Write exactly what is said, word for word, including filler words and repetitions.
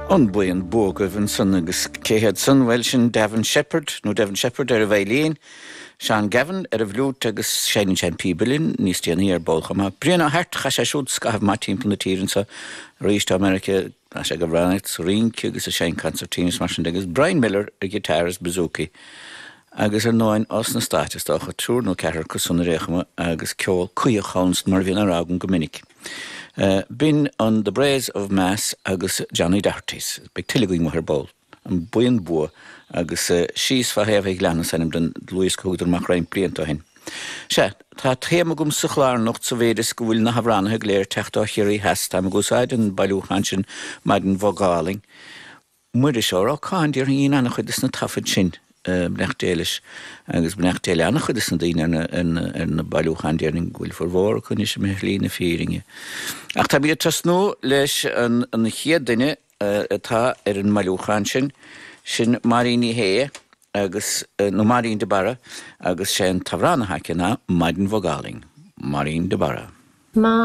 An buíon bua agaibh ansan agus cé hiad san bhuel sin Devin Sheppard nó Devin Sheppard ar an veidhlín, Seán Gavin ar an bhfliúit agus seinneann sé an píb uilleann níos déanaí ar ball chomh maith. Brian Ó hAirt chaith sé siúd scaitheamh maith timpeall na tíre anseo arís i Meiriceá sé ag amhránaíocht sa Fhrainc agus ag seinm concertina mar sin agus Brian Miller ar guitar is bouzouki. Agus ar ndóigh as na Stáit is dócha triúr nó ceathrar acu san ar aon chuma agus ceol cuíoch ann mar a bhíonn á rá agam go minic. Uh, B'in an The Braes of Mass agus Johnny Doherty's. Beidh tuilleadh againn ar ball. An buíon bua agus uh, síos fá thaobh an ghleanna is ainm don dlúthdhiosca a thugadar amach roinnt blianta ó shin. Sea, tá téama agam sa chlár anocht sa mhéid is go bhfuil na hamhránaithe go léir ag teacht ó Chiarraí Theas tá ag úsáid an bailiúchán sin Maidin Bhog Álainn. Muiris Ó Rocháin déarfainn an-chuid de na taifid sin. Beannacht Dé leis agus beannacht Dé le an-chuid de na daoine ar na bailiúcháin déarfainn go bhfuil formhór acu anois imithe ar shlí na fírinne. Ach tá ag tosnú leis an an chéad duine atá ar an mbailiúchán sin sin Máirín Ní Shé agus nó Máirín de Barra agus sé an t-amhrán atá aici ná Maidin Bhog Álainn, Máirín de Barra. Ma